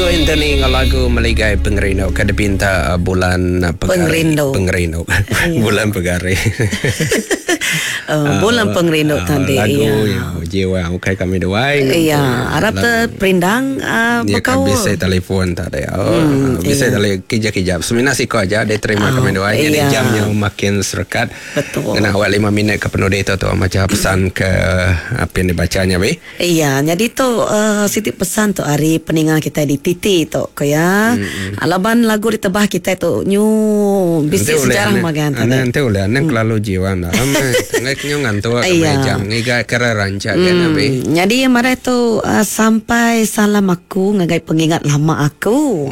Ringo Anthony enggau lagu Meligai Pengerindu ke dipinta bulan Pegari. Pengerindu. Pengerindu. Bulan Pegari. Bulan Pengerindu tadi. Lagu iya. Jiwa ukai kami duai. Iya, arap te perindang Dia kan bekaul. bisi telefon tadi. Oh, bisi tele kijap-kijap. Semina siko aja dia terima kami duai. Jadi jamnya makin serekat. Betul. Kena awak 5 minit ke penudi tu tu maca pesan ke apa yang dibacanya be. Iya, jadi tu siti pesan tu ari peninga kita di titi tu ko ya. Laban lagu ditebah kita tu nyu bisi sejarah magan tadi. Nanti ulih anang kelalu jiwa dalam. Ngai kenyu ngantuk kami jam ngiga kera rancak kan abi. Jadi marai tu sampai salam aku ngagai pengingat lama aku.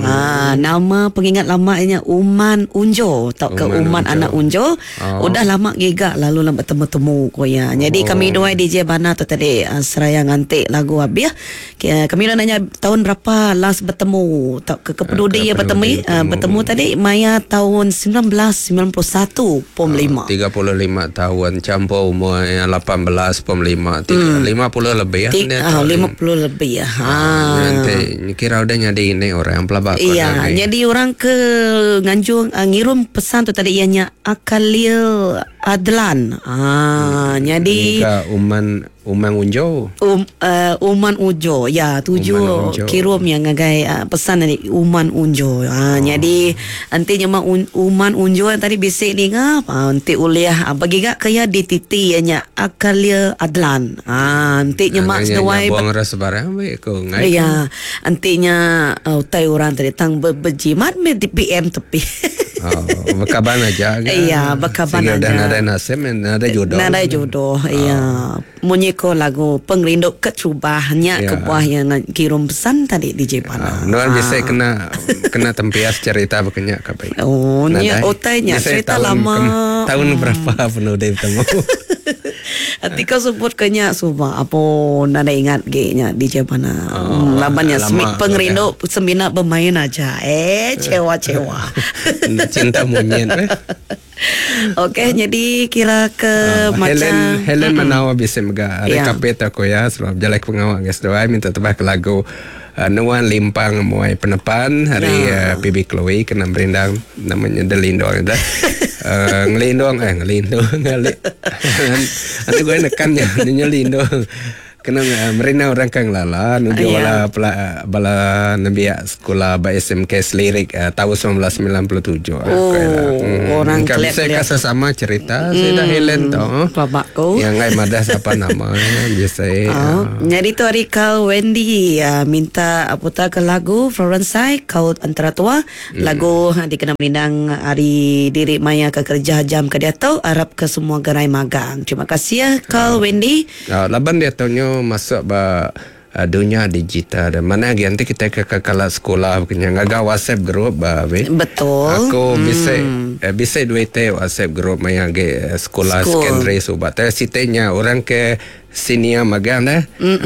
Nama pengingat lama nya Uman Unjo tauka Uman Uman Unjo. Anak Unjo. Oh. Udah lama ngiga lalu lama betemu-temu ko iya. Jadi kami duai DJ Bana tu tadi seraya nganti lagu habis. Kami dah nanya tahun berapa last betemu tauka ke penudi Ke iya penudi betemu betemu. betemu tadi maya tahun 1991 pom 5. 35 tahun campur umur yang 18 pom 5 3, 50 lebih ya. Ti, Dia ah, tahu. 50 lebih ya. Ha. Nanti kira udah nyadi ini orang pelabak ko Iya, lagi. jadi orang ke nganjung ngirum pesan tu tadi ianya Akalil Adlan. Ah, jadi Nika Uman Umang Unjo. Uman Ujo. Ya, tuju Uman Unjo. kirum yang ngagai pesan dari Uman Unjo. Ha, jadi nanti nyema Uman Unjo yang tadi bisik ni ngap, nanti uliah bagi gak kaya di titi ianya Akalil Adlan. Ha, nanti nyema Nanya seduai buang rasa barang baik ko ngai. Ya, antinya utai orang tadi tang berjimat me di PM tepi. Oh, bekaban aja kan. Iya, bekaban Sehingga udah aja. nada nasib, nada jodoh. Nada jodoh, iya. Munyi ko lagu pengerindu kecubahnya Ya. kebuah yang kirim pesan tadi di Jepana. Nuan bisa kena kena tempias cerita bekenyak kapai. Oh, nya Nadai. utainya Bisa cerita tahun lama. tahun berapa penuh dia bertemu. Nanti kau sebut kenya suba apa nada ingat ge nya di Jepana. Oh, Labannya lama pengerindu semina bermain aja. Cewa-cewa. Cinta monyet. Eh. Okey, jadi kira ke macam Helen Helen Manawa bisa mega Ya. rekapit aku ya sebab jalan pengawak guys doa minta tebah ke lagu Nuan Limpang Muai Penepan hari PB Chloe kena merindang namanya Delindong dah. Ngelindong ngelindong ngali. Nanti gue nekannya nyelindong. Kena merina orang kang lala nuju Ya. bala bala nembiak sekolah ba SMK Selirik tahun 1997. Oh, orang Kan keliat- Saya keliat. kasih sama cerita saya dah Helen tu. Babakku. Yang ngai madah siapa nama biasa. Oh, jadi tu hari kau Wendy minta putar ke lagu Florence Sai kau antara tua lagu dikena merindang hari diri maya ke kerja jam ke dia tu harap ke semua gerai magang. Terima kasih ya kau Wendy. Laban dia tanya masuk ba dunia digital dan mana lagi nanti kita ke kekala sekolah kena ngaga WhatsApp group ba be. Betul. Aku bisa bisa duit te WhatsApp group maya ge sekolah School. secondary subat. Tapi sitenya orang ke senior magang dah.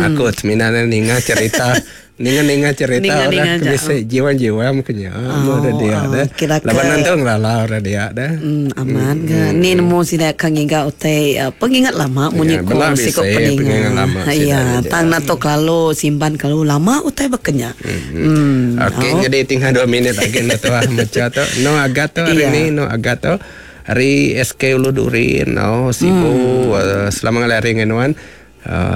Aku semina ninga cerita ninga-ninga cerita Ninga-ninga orang aja. bisa jiwa-jiwa mungkin Oh, oh, dia dah. kira ke- Laban nanti ngelala orang dia dah. Aman ke? Ni nemu sida kang ngiga utai pengingat lama munyi Ya, ko bela siko bisa, peningat. pengingat lama sida Ya, dia. tang nato lalu simpan kalau lama utai bekenya. Hmm. Okey, Oh. jadi tinggal 2 minit lagi nak tu ah macam tu. No agat tu hari Iya. ni no agat tu. Hari SK Ulu Durin, oh Sibu selamat ngalih hari dengan nuan.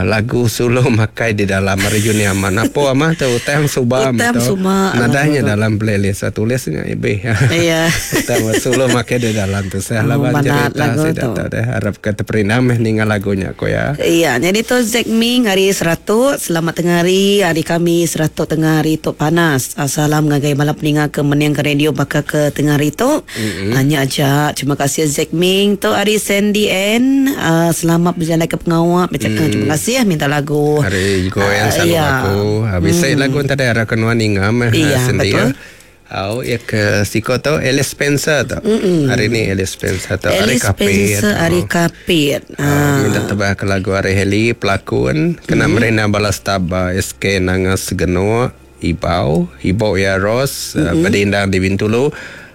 Lagu solo makai di dalam hari Juni aman. Apa amah tu utang subam Utang tu. suba, Nadanya lagu tu. dalam playlist saya tulisnya ibe. Iya. Utang solo makai di dalam tu. Saya Oh, lawan manat cerita lagu saya tu. tak tahu harap ke terperinam meh ningal lagunya ko ya. Iya, jadi tu Zack Ming hari 100, selamat tengah hari, hari kami 100 tengah hari tu panas. Salam ngagai malam peninga ke meniang ke radio bakal ke tengah hari tu. Hanya aja. Terima kasih Zack Ming tu hari Sandy N. Selamat berjalan ke pengawak. Terima kasih ya minta lagu. Hari goyang Ah, selalu iya. aku. Habis saya lagu tadi arah kenuan ingam Iya, sendiri. betul. Au ya ke siko tu Alice Spencer tu. Hari ni Alice Spencer tu hari Alice Kapit. Spencer hari Kapit. Ah, minta tebah ke lagu hari Heli pelakon kena merina balas taba SK Nangas Genua Ibau Ibau ya Ros berdindang di Bintulu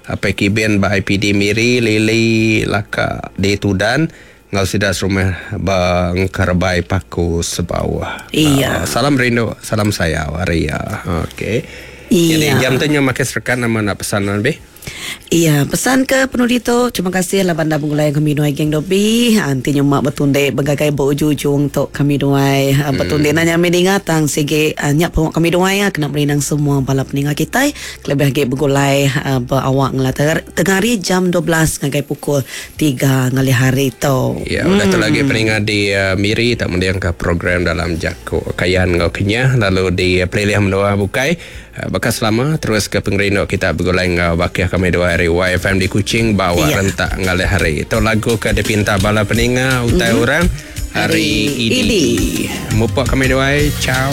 apa kiben ba IPD Miri Lili Laka di Tudan ngau sida serumah ba Ngkerbai Paku Sebawah. Iya. Salam rindu, salam sayau hari ya. Okey. Jadi Iya. jam tu nyu makai serekat nama nak pesan lebih. Iya, pesan ke penudi tu terima kasih lah bandar begulai kami duai geng dobi. Anti nyemak betundek begagai berujung-ujung tok kami duai betunde nanya kami dinga tang sigi nyak pengok kami duai kena merinang semua bala peninga kita kelebih lagi begulai berawak ngela tengah hari jam 12 ngagai pukul 3 ngalih hari tu. Ya, udah tu lagi peninga di Miri tak mendiang ke program dalam Jako Kayan ngau Kenyah lalu di Pelilih Menua Bukai bekas lama terus ke pengerindu kita begulai ngau bakih kami dua hari YFM di Kuching bawa rentak ngalih hari. Itu lagu ke dipinta bala peninga utai orang hari ini. Mupak kami dua, ciao.